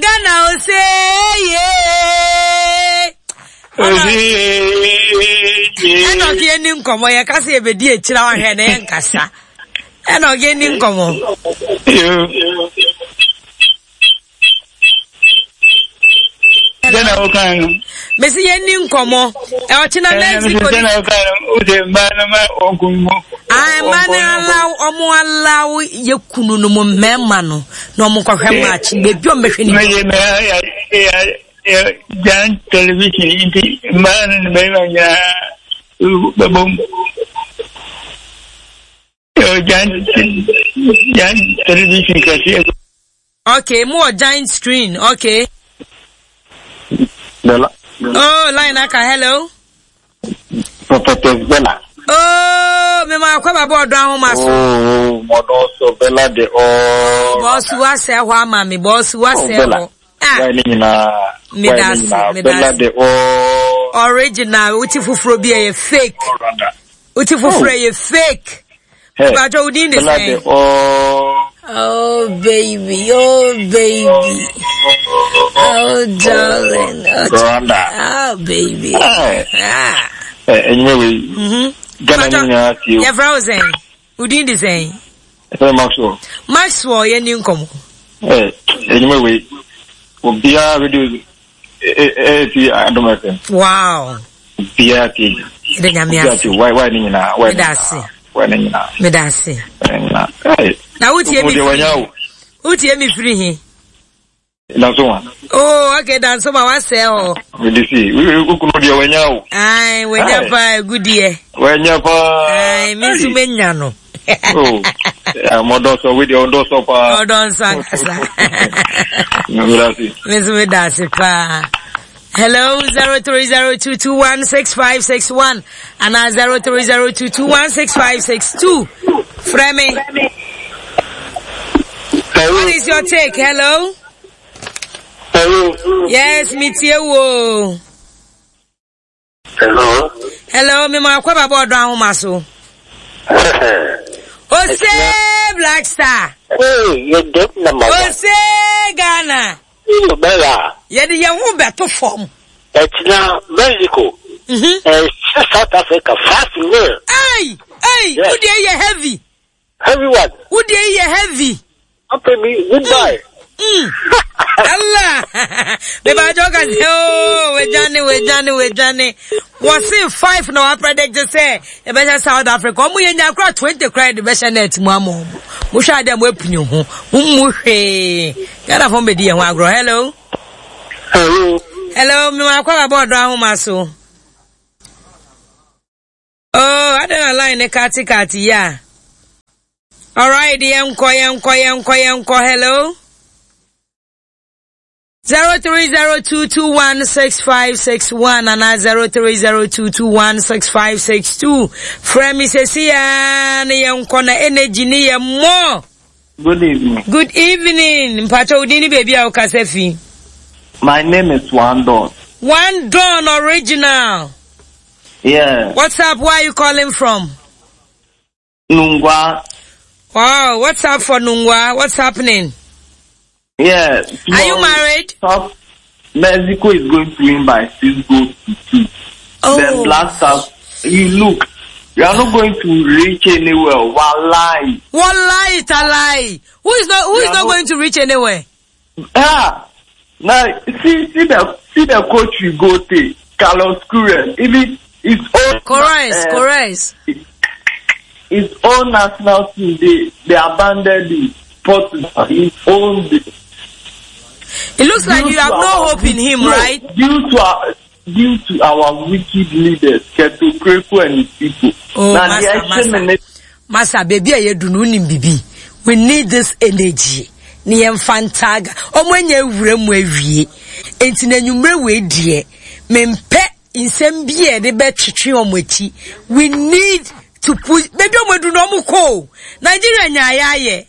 Ghana ose ye. Ɛna ɔke yɛni nkɔmmɔ yɛka sɛ yɛbɛdi akyira wahwɛ na yɛnkasa. Ɛna ɔke yɛni nkɔmmɔ. Sɛ na woka no. Mesi yɛn ni nkɔmɔ. Ɔkyena Mexico. Sɛ na woka no, wose mmaa no ma wɔn mu. Ah, mmaa no alaw, ɔmo alaw yɛ kunu no mu mmarima no na ɔmo kɔhwɛ match beebi ɔmo bɛhwɛ ne. Mɛ mɛ ya ya ya jan television nti mmaa no ne mmarima nyinaa bɛbɔ mu. Giant giant television kɛseɛ. Okay, mo wɔ giant screen. Okay. Bella. Oh, line aka. Hello. Prophetess Bella. Oh, me ma akɔ baba ɔdɔ ahoma so. Oh, mɔdɔ so Bella de oh. Bɔsu wasɛ hɔ ama mi. Bɔsu wasɛ hɔ. Ah. Why ne nyinaa. Me da ase. Me da Bella de oh. Original. Wuti foforo bi ɛyɛ fake. Wote foforɔ yɛ fake. Bàtɔ wo din de sɛn? Oh baby, oh baby. Oh darling. Rwanda. Oh baby. Ah. Enyime wei. Mhm. Ghana ni nyinaa tie o. Yɛfrɛ wo sɛn? Wo din de sɛn? Ɛfɛ Maxwell. Maxwell yɛ ni nkɔmɔ. Ɛ enyime wei. Obiara radio ɛti Adom FM. Wow. Obiara tie. Meda nyame ase. Obiara tie. Why why ne nyinaa. Why Meda ase. Why ne nyinaa. Meda ase. Why ne nyinaa. Hey. Na wotie mi firi. Wotie mi firi he. Dansoma. Oh, okay, Dansoma wasɛ hɔ. Mede si, wokunu deɛ wanya o. Ai, wanya paa agudeɛ. Wanya paa. Ai, me nso menya no. Oh, mɔdɔ sɔ, wei deɛ ɔdɔ sɔ paa. Ɔdɔ nsɔ ankasa. Me nso meda ase paa. Hello, 0302216561 and 0302216562. Frɛ me. What is your take? Hello? Hello. Yes, me tie wo. Hello. Hello, me ma akwa baba ọdọ ahoma so. Ose Black Star. Hey, you get number one. Ose Ghana. Bella. Yɛde yɛn ho bɛto fam. Ɛkyina Mexico. Mm-hmm. South Africa 5-0. Hey, hey, yes. Wo deɛ yɛ heavy. Heavy one. Wo deɛ yɛ heavy. Apɛ mi goodbye. Mm. Allah. Beba ajo ka se oh wejane wejane wejane. Wɔse 5 na wa predict sɛ yɛbɛhyɛ South Africa. Ɔmo yɛ nya kora 20 kora de bɛhyɛ net mu ama ɔmo. Mo hwɛ ade a mo apini ho. Mo mu hwee. Ghana fo mbɛdi yɛn ho agorɔ. Hello. Hello. Hello, me wa kwa ba ɔdɔ ahoma so. Oh, adɛn na line ne kate kate yi a? Alright, yɛnkɔ, yɛnkɔ, yɛnkɔ, yɛnkɔ. Hello. 0302216561 ana 0302216562. Frɛ me sɛsi ya ne yɛnkɔ na energy ne yɛ mmɔ. Good evening. Good evening. Mpacho wo din ne baabi a wokasa fi. My name is One Don. One Don original. Yeah. What's up? Where are you calling from? Nungwa. Wow, what's up for Nungwa? What's happening? Yeah. Are you married? Top. Mexico is going to win by 6-2. Oh. Then Black Stars, you look, you are not going to reach anywhere. Wallahi. Wallahi talai. Who is not who is not going to reach anywhere? Ah. Now see see the see the coach we go to, Carlos Queiroz. Even his own Correct, correct. His own national team, they abandoned him. Portugal, his own. It looks like you have no hope in him, right? Due to our due to our wicked leaders, Keto Kreko and his people. Oh, Now, Master, the action Master. Master, baby, I do no nim bibi. We need this energy. Ne yɛmfa ntaaga ɔmo anya awura mu awie enti na anwummerɛ wei deɛ mempɛ nsɛm bi a yɛde bɛtwetwe ɔmo akyi. We need to push baabi ɔmo adu no ɔmo kɔ o. Nigeria nyaayɛ ayɛ.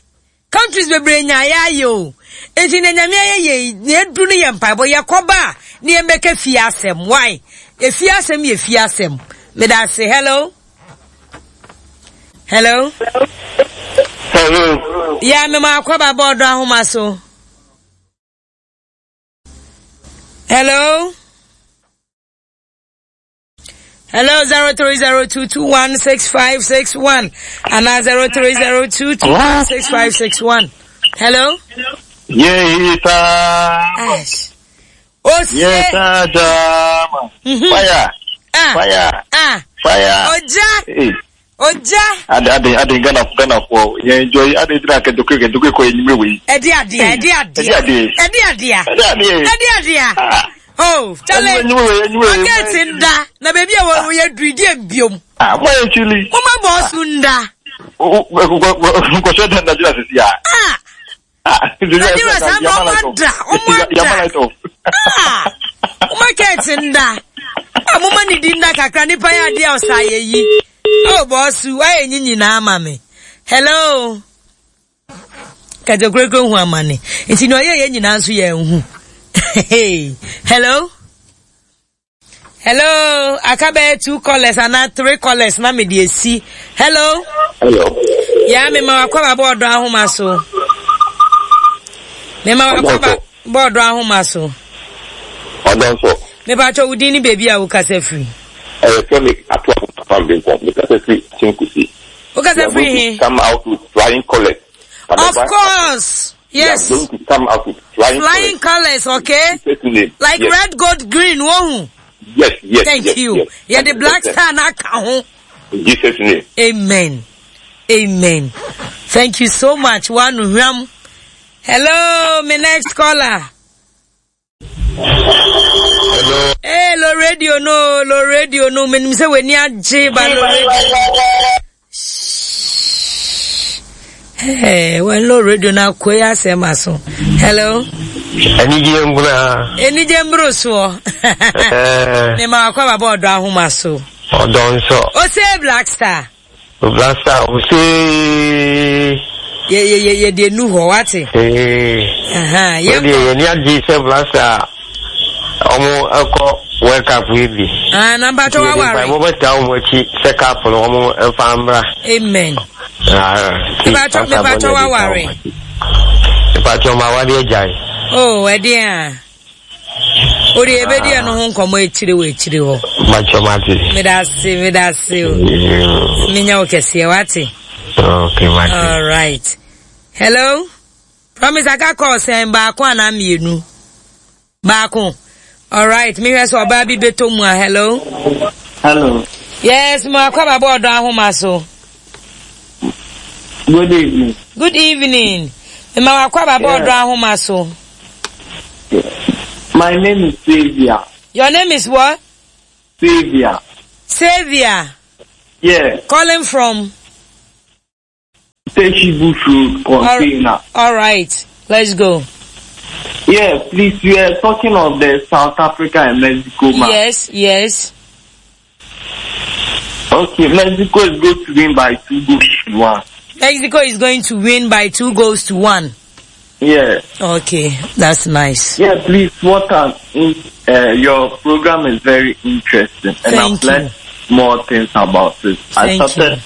Countries bebree nyaayɛ ayɛ o. Enti na nyame ayɛ yɛ yi na edu no yɛ mpaebɔ yɛkɔba a ne yɛn bɛka fie asɛm. Why? Efie asɛm yɛ fie asɛm. Meda ase. Hello. Hello. Hello. Yeah, me ma akɔba bɔɔdo ahoma so. Hello. Hello, 0302216561 and 0302216561. Hello? Yeah, it's Ash. Oh, Yes, Jama. Mhm. Fire. Ah. Fire. Ah. Fire. Oja. Hey. Oja. Ade ade ade Ghana Ghana for yeah enjoy ade dina kedoke kedoke ko enyimre we. Ɛde adeɛ, ɛde adeɛ. Ɛde adeɛ. Ɛde adeɛ. Ɛde adeɛ. Ɛde adeɛ. Ah. Oh, chale. Enyimre we enyimre we. Market nda. Na baby a wo yɛ duri die mbiom. Ah, mo ye chili. Mama boss nda. Nkɔhyɛ dan Nigeria sisi a. Ah. Ah, Nigeria saa ma ɔmo ada, ɔmo ada. Yama light off. Ah. Market nda. Ah, mama ne di nda kakra nipa yɛ adeɛ a ɔsa yɛ yi. Oh, boss, wayɛ nyi nyinaa ama me. Hello. Kɛtɛkurekure hu amane. Nti nea ɔyɛ yɛ nyinaa nso yɛ nhu. Hello. Hello, aka bɛyɛ two callers anaa three callers na mede esi. Hello. Hello. Ya me ma wakɔ ba bɔɔdɔ ahoma so. Me ma wakɔ ba bɔɔdɔ ahoma so. Ɔdɔ nso. Me pa kyɛ wo din ne baabi a wokasa firi. Ɛyɛ fɛ me ato afam de nkɔm. Me kasa firi Chinkusi. Wokasa firi he? Come out with flying colors. Of course. Yes. We are going to come out with flying, flying colors. colors okay? Like yes. red, gold, green, wohu. Yes, yes. Thank yes, you. Yes. Yeah, the black star na ka ho. In Jesus' name. Amen. Amen. Thank you so much. One hwam. Hello, my next caller. Hello. Hey, lo radio no, lo radio no. Menim sɛ w'ani agye ba lo radio. Hey, when lo radio na akɔ yi asɛm aso. Hello. Anigye mbura. Anigye mburo soɔ. Mema wakɔ aba bɔ ɔdɔ ahoma so. Ɔdɔ nso. Ose Black Star. Black Star ose. Yɛ yɛ yɛ yɛ deɛ nu hɔ wate. Ee. Yɛ deɛ yɛ ni agye sɛ Black Star ɔmo ɛkɔ World Cup yi bi. Ah, na mpatsɔ wa ware. Yɛ de mpaebɔ taa wɔn akyi sɛ cup no wɔn mfa mbra. Amen. Mpatsɔ mpatsɔ wa ware. Mpatsɔ ma wade agyae. Oh, ɛdeɛ a. O de yɛbɛdi ɛno ho nkɔmmɔ akyire wɔ akyire hɔ. Mpatsɔ mate. Meda ase, meda ase o. Menya wo kɛseɛ, wate? Okay, mate. All right. Hello? Promise aka call sɛn baako anaa mmienu? Baako. All right, mehwɛ sɛ ɔbaa bi bɛtɔ mu a. Hello? Hello. Yes, mo akɔ aba bɔ ɔdɔ ahoma so. Good evening. Good evening. Mma wakɔ aba bɔ ɔdɔ ahoma so. My name is Xavier. Your name is what? Xavier. Xavier. Yeah. Calling from? Teshi Bush Road, container. All right, let's go. Yeah, please, we are talking of the South Africa and Mexico match. Yes, yes. Okay, Mexico is going to win by 2 goals to 1. Mexico is going to win by 2 goals to 1. Yeah. Okay, that's nice. Yeah, please, what an, your program is very interesting. And Thank I've learned more things about it. Thank I started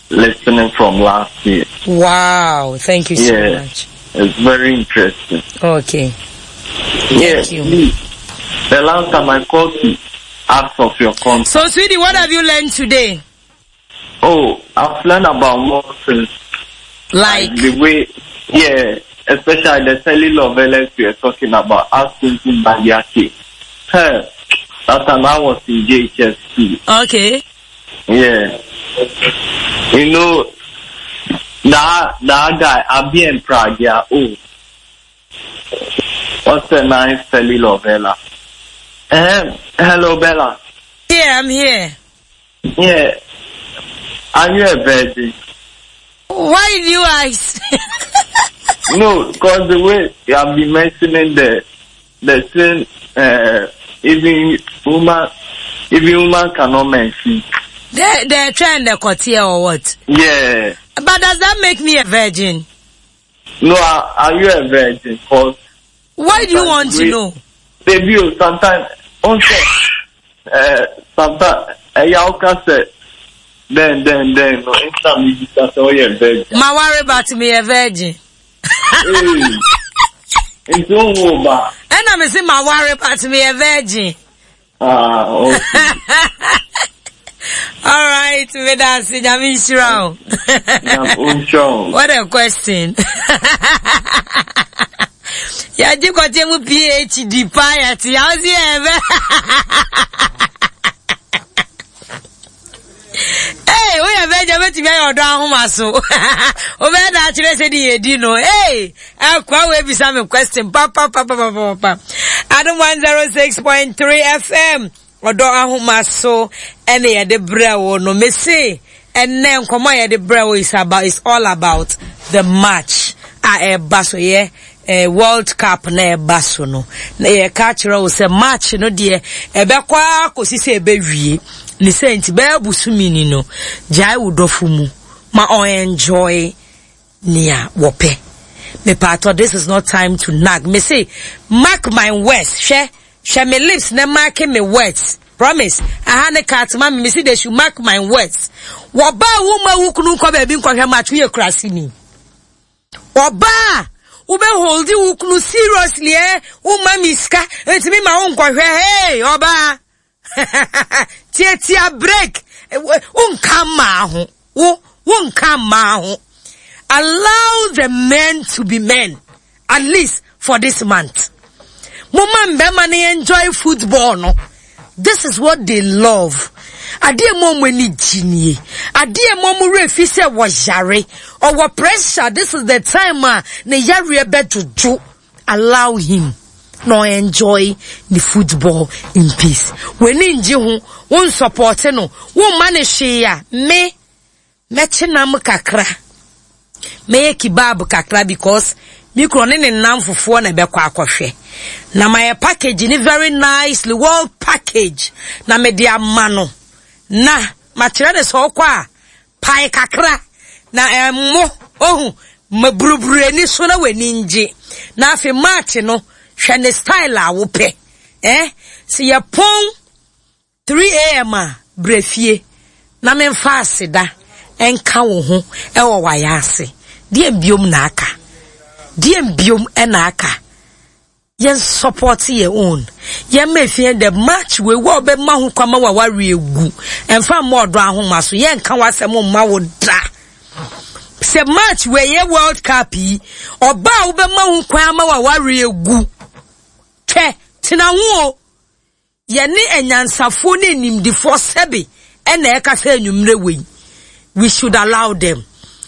listening from last year. Wow, thank you so Yeah. much. It's very interesting. Okay. Yeah, Thank you. please. The last time I called to ask of your contact. So, sweetie, what have you learned today? Oh, I've learned about more things. Like? The way, yeah, especially the telenovelas we are talking about, asking Badiaki. Hey, that time I was in JHS2. Okay. Yeah. You know, that guy, Abi and Pragya, oh. What's the nice telenovela? Hello, Bella. Yeah, I'm here. Yeah. Are you a virgin? Why do you ask? No, because the way you have been mentioning the thing, even woman cannot mention. They're trying to courtier or what? Yeah. But does that make me a virgin? No, are you a virgin? Cause why do you want to know? Baby, sometimes, sometimes, then, no, instant me just say, oh, you're a virgin. Ma worry about me a virgin. Hey. Nti wonwoo ba? Ɛna me se maware but meyɛ virgin. Ah, okay. All right, meda ase nyame nhyira wo. What a question. Yɛgye kɔteɛ mu PhD paa yɛte yɛ wo se yɛ bɛ. Hey, woyɛ bɛgya wobɛtumi ayɛ ɔdɔ ahoma so. Wobɛyɛ da akyerɛ sɛ de yɛdi no. Hey, akoa wei bisa me question papapapapapa. Adom 106.3 FM ɔdɔ ahoma so ɛne yɛde brɛ wo no. Mese ɛnɛ nkɔmmɔ a yɛde brɛ wo is about is all about the match a ɛba so yɛ eh, World Cup na ɛba so no. Na yɛka kyerɛ wo sɛ match no deɛ ɛbɛkɔ ara kɔsi sɛ ɛbɛwie. Ne sɛ nti bɛyɛ bosome ni no, gyae wo dɔfo mu ma ɔenjoy nea wɔpɛ. Mepaatɔ, this is not time to nag. Me se, mark my words. Hwɛ, hwɛ me lips na mark me words. Promise, aha ne cut ma me, me se they should mark my words. Wɔbaa wo ma wo kunu nkɔ baabi nkɔhwɛ match, woyɛ kuraseni. Ɔbaa a wobɛ holdi wo kunu seriously eh, woma me sika, ntumi ma wo nkɔhwɛ, hey, ɔbaa. Tiatia break, wonka mmaa ho, wo, wonka mmaa ho. Allow the men to be men, at least for this month. Moma mbɛma no enjoy football no. This is what they love. Adeɛ mu ɔmo ani gye nie. Adeɛ mu ɔmo werɛ fi sɛ wɔyare. Ɔwɔ pressure. This is the time a ne yareɛ bɛdwodwo. Allow him na ɔ enjoy ne football in peace. W'ani ngye ho, wo nsɔpɔte no, wo mma no hwee a, me, mɛkye nam kakra, mɛyɛ kebab kakra because me kunu ɔne ne nnamfofoɔ na ɛbɛkɔ akɔhwɛ. Na mayɛ package ne very nicely, well package, na mede ama no. Na makyerɛ no sɛ ɔkɔ a, Pae kakra na ɛmmo, ohu, ma buruburu ani so na w'ani ngye. Na afei March no, hwɛ ne style a wopɛ. Eh, sɛ yɛpɔn 3 am a, bra fie na memfa aseda nka wo ho wɔ w'ayaase. Deɛn biom na aka? Deɛn biom na aka? Yɛn support yɛ own. Yɛn ma efie dɛ match wei wo a ɔbɛma ho kwan ma waware egu. Ɛnfa mma ɔdɔ ahoma so. Yɛn nka w'asɛm mma wo da. Sɛ match wei yɛ World Cup yi, ɔbaa a wobɛma ho kwan ama waware egu. Twɛ, tena ho o. Yɛne anyansafoɔ ne animdefoɔ sɛbe ɛna ɛkasa anwummerɛ wei. We should allow them.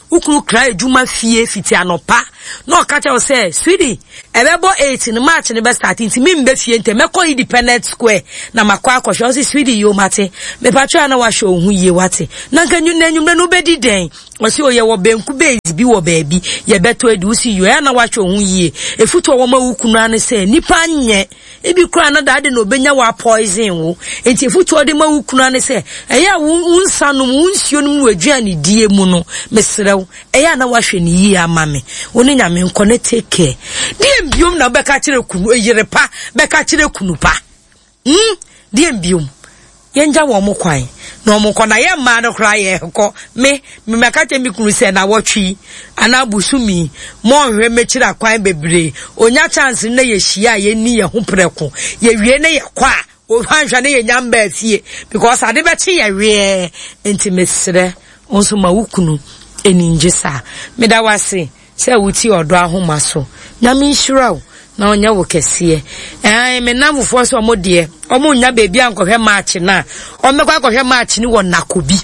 Wo kunu kra adwuma fie fiti anɔpa na ɔka kyerɛ wo sɛ, sweetie, ɛbɛbɔ 8 no match no bɛ start nti membɛ fie ntɛm mɛkɔ Independent Square na makɔ akɔhwɛ. Ɔse sweetie yoo mate, mepatwɛ a na wahwɛ wo ho yie wate. Na nka na anwummerɛ no wobɛdi dɛn? Ɔse o yɛwɔ banku base bi wɔ baabi yɛbɛtɔ adi. Wo se yoo ɛyɛ a na wahwɛ wo ho yie. Efutu a wɔma wo kunu ara ne sɛ nipa nyɛ Ebi koraa na daa de na obenya wo apoison wo. Enti afotu a ɔde ma wo kunu ara ne sɛ, ɛyɛ a wo nsa nom, wo nsuo nom wɔ aduane die mu no, mesrɛ wo, ɛyɛ a na wahwɛ no yie ama me. Wo ne Nyame nkɔ na take care. Deɛn biom na wobɛka akyerɛ kunu, yere pa bɛka akyerɛ kunu pa? Hmm, deɛn biom? Yɛngya wɔn kwan na wɔn nkɔ na yɛn mmaa no koraa yɛkɔ. Me, me mɛka kyerɛ me kunu sɛ nawɔtwe yi anaa bosome yi mɔnhwɛ mɛkyiri akwan bebree. Onya chance no na yɛhyia a yɛnni yɛn ho prɛko. Yɛwie na yɛkɔ a, wanhwɛ na yɛnya mbaa fie because ade bɛkye yɛ weɛɛ. Nti mesrɛ wo nso ma wo kunu ani ngye saa. Meda wo ase. Sɛ wotie ɔdɔ ahoma so. Nyame nhyira wo na ɔnyɛ wo kɛseɛ. Ɛɛ me nnamfofoɔ sɛ ɔmo deɛ ɔmo nnya baabi ankɔhwɛ match no a ɔmo bɛkɔ akɔhwɛ match no wɔ Nakobi.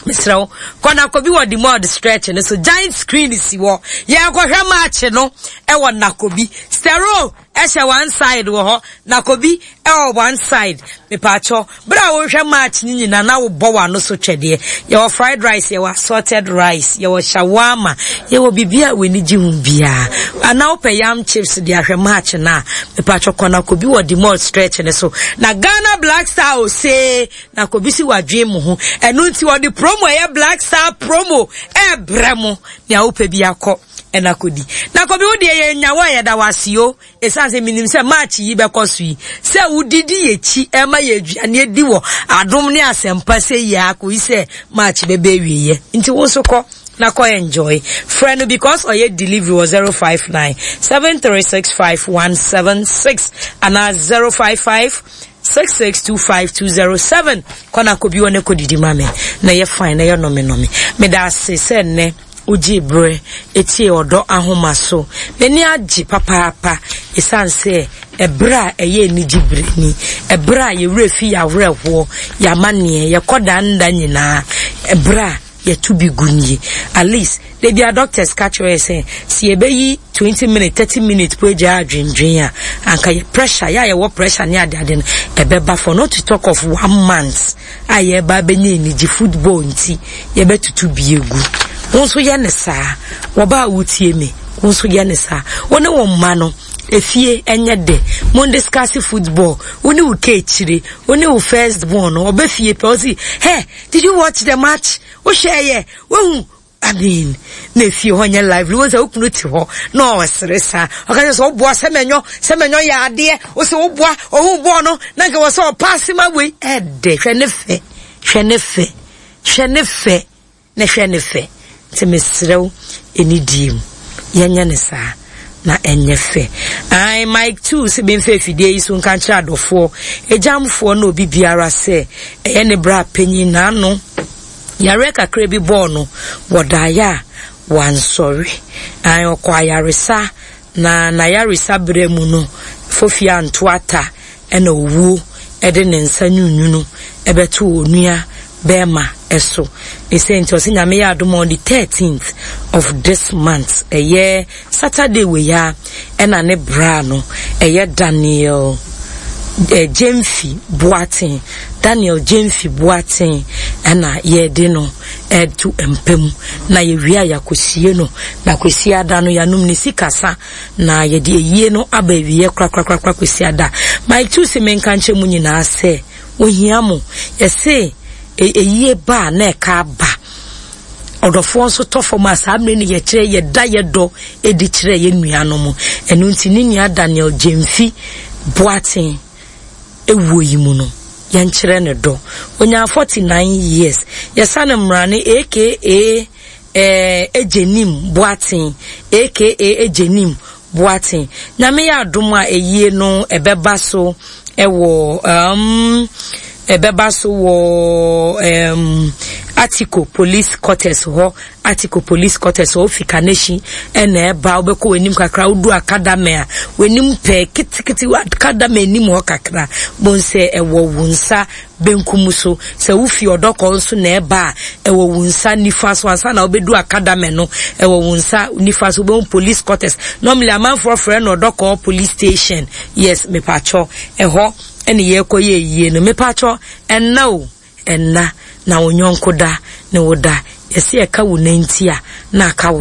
Mesrɛ wo kɔ Nakobi wɔ Demod stretch no so giant screen si hɔ. Yɛkɔhwɛ match no ɛwɔ Nakobi. Stero ɛhyɛ one side wɔ hɔ, Nakobi ɛwɔ one side. Mepaakyɛw, bere a worehwɛ match no nyinaa na wobɔ w'ano so twɛdeɛ. Yɛwɔ fried rice, yɛwɔ assorted rice, yɛwɔ shawarma, yɛwɔ biribi a w'ani gye ho biara. Anaa wopɛ yam chips de ahwɛ match no a, mepaakyɛw kɔ Nakobi wɔ Demod stretch no so. Na Ghana Black Star osee, Nakobi si wadwen mo ho. Ɛno nti wɔde promo a ɛyɛ Black Star promo ɛrebrɛ mo. Nea wopɛ bi akɔ. Ɛna kɔdi. Na kɔbi wo deɛ yɛn nya wo a yɛda wo ase o. Ɛsiane sɛ menim sɛ March yi bɛkɔ so yi, sɛ wodidi yɛkyi ɛma yɛ aduane adi wɔ adom ne asɛmpa sɛ yi ara kɔyi sɛ March bɛbɛ awieɛ. Nti wo nso kɔ na kɔ enjoy. Frɛ no because ɔyɛ delivery wɔ 059 7365 176 anaa 055 6625207. Kɔ na kɔ bi wɔ ne kɔ didi ma me na yɛ fine na yɛ nɔme nɔme. Meda ase sɛ nnɛ wogyee berɛ tiee ɔdɔ ahoma so. M'ani agye papaapa ɛsiane sɛ ɛberɛ a ɛyɛ anigye berɛ ni, ɛberɛ a yɛn werɛ fi yɛn awerɛhoɔ, yɛn amanneɛ, yɛkɔ daa nda nyinaa, ɛberɛ a yɛto bi gu nie. At least, da biara doctors ka kyerɛ yɛ sɛ, sɛ yɛbɛyi 20 minutes, 30 minutes po agyae adwendwen a, anka yɛ pressure, yɛ a yɛwɔ pressure ne adeade no, ɛbɛba for not to talk of one month a yɛreba abɛnya anigye football nti yɛbɛtutu bi agu. Wo nso yɛ ne saa. Wɔba a wotie me, wo nso yɛ ne saa. Wo ne wo mma no, efie ɛnyɛ dɛ. Mo discuss football. Wo ne wo keekyire, wo ne wo first born no, ɔbɛ fie pɛ, ɔsi, hey, did you watch the match? Wohwɛ yɛ, wohu I mean, na efie hɔ nyɛ lively. Wo sɛ wo kunu te hɔ na ɔsere saa. Ɔka kyerɛ sɛ ɔboa sɛ mɛnyɔ, sɛ mɛnyɔ yɛ adeɛ. Wo sɛ woboa, ɔhu bɔɔl no, na nka wɔ sɛ ɔpaase ma wei. Ɛdɛ, hwɛ ne fɛ, hwɛ ne fɛ, hwɛ ne fɛ, na hwɛ ne fɛ. Nti mesrɛ wo, anidie mu, yɛnyɛ ne saa na ɛnyɛ fɛ. Ae, Mike too sɛ memfa afidie yi so nka nkyerɛ adɔfoɔ, agyamfoɔ ne obi biara sɛ ɛyɛ ne bra panyin n'ano. Yareɛ kakra bi bɔɔ no wɔ daeɛ a wansɔre. Ae, ɔkɔɔ ayaresa, na n'ayaresa berɛ mu no, fofie anto ata na owuo de ne nsa nwunwunu bɛtoo onua bɛɛma so. Ne sei nti ɔse Nyame yɛ adom a on the 13th of this month, ɛyɛ Saturday wei ara, ɛna ne bra no ɛyɛ Daniel eh, Gyamfi Boateng, Daniel Gyamfi Boateng ɛna yɛde no ɛto mpa mu na yɛwie a yɛakɔsie no na kwasi ada no yɛanom ne sikasa na yɛde ayie no aba awieɛ korakorakorakora kwasi ada. Mike tu se menka nkyerɛ mu nyinaa sɛ ohia mo yɛse eyie ba a na ɛka aba Ɔdɔfoɔ nso tɔ fam a, saa mmerɛ no yɛkyerɛ yɛda yɛ dɔ adi kyerɛ yɛn nuanom. Ɛno nti ne nua Daniel Gyamfi Boateng ewuo yi mu no, yɛnkyerɛ no dɔ. Ɔnyaa 49 years. Yɛsa no mmrane aka eh, Egyenim Boateng aka Egyenim Boateng. Nyame yɛ adom a ayie no ɛbɛba so ɛwɔ um, ɛbɛba so wɔ um, Atiko Police Quarters hɔ. Atiko Police Quarters hɔ, wofi Kaneshie ɛna ɛba, wobɛkɔ w'anim kakra, wodu Akadame a, w'anim pɛɛ ketekete, Akadame anim hɔ kakra, bohu sɛ ɛwɔ wo nsa benkum so. Sɛ wufi ɔdɔkɔ nso na ɛba a, ɛwɔ wo nsa nifa so. Ansa na wobɛdu Akadame no, ɛwɔ wo nsa nifa so. Wobɛhu police quarters. Normally amanfoɔ frɛ no ɔdɔkɔ police station. Yes, mepakyɛ, ɛhɔ ɛne yɛrekɔ yɛ ayie no. Mepakyɛ, ɛnna o, ɛnna. Na wo yɔnko da ne wo da. Yɛse ɛka wo nanti a, na aka wo.